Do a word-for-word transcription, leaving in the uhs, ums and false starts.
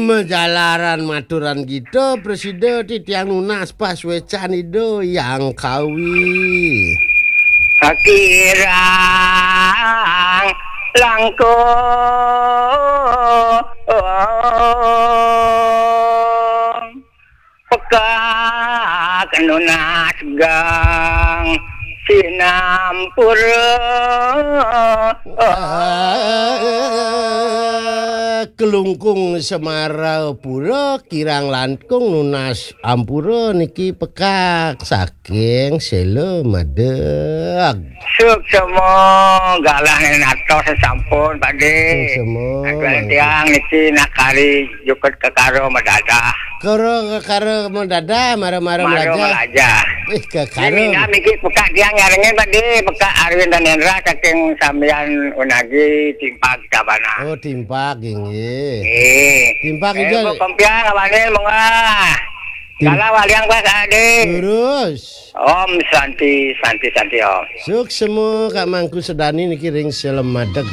Majalaran maturan kita, Presida, titiang nunas pasuécan Ida Hyang Kawi. Kakirang langkung pekak nunas gang sinampura. Kelungkung Semarapura, kirang langkung nunas ampura niki pekak saking Sela Madeg. Suksema galah nén atos sampun, Pak Dé. Suksema, Aduh, mangke. Tiang niki nak kari jukut kekara madadah. Kara kekara madadah, mara-mara Mara melaja. Melaja. Wih, kekara. Ini niki pekak tiang nyarengin, Pak Dé, pekak Arwin Danendra saking Sambian Unagi, Timpak Sabana. Oh, Timpak, inggih. Eh. Timpak Eh, ijo. Kok kompiang awanin, monggo. Tim- Galah waliang, Pak Dé. Terus. Om Santi, Santi, Santi, Om. Suksema Kak Mangku Sedani niki ring Sela Madeg.